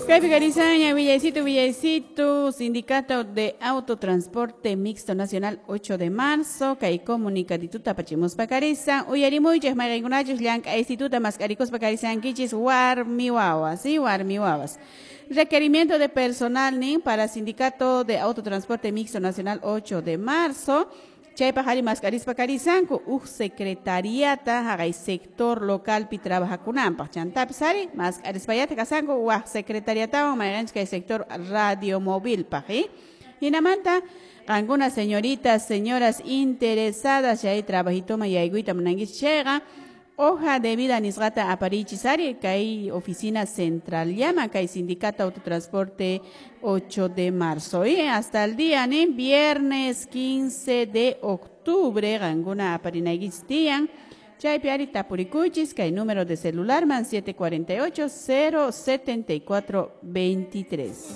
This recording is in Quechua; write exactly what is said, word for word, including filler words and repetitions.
Kaypi karisaña, Villaycito, Villaycito, Sindicato de Autotransporte Mixto Nacional, ocho de marzo, kay comunicadituta apachimuspa karisan, uyarimuychik mayqinkunachus llank'aysituta mask'arikuspa karisankichis warmi wawas, ¿sí? Warmi wawas. Requerimiento de personal nin para Sindicato de Autotransporte Mixto Nacional ocho de marzo. Chaypaq ari mask'arispa karisanku uj secretariata haqay sector localpi trabajakunanpaq chantapis ari mask'arispayata kasanku waj secretariatawan mayqanchis kay sector radiomovilpaq, ¿eh? Hinamanta qankuna señoritas, señoras interesadas chay trabajitoman yaykuyta munankichis chayqa hoja de vida nisqata aparichis ari kay oficina central llama kay Sindicato Autotransporte ocho de marzo, ¿eh? Hasta el día, ¿no? Viernes quince de octubre qankuna aparinaykichis tiyan chaypi ari tapurikuychis kay número de celular man siete cuarenta y ocho cero setenta y cuatro veintitrés.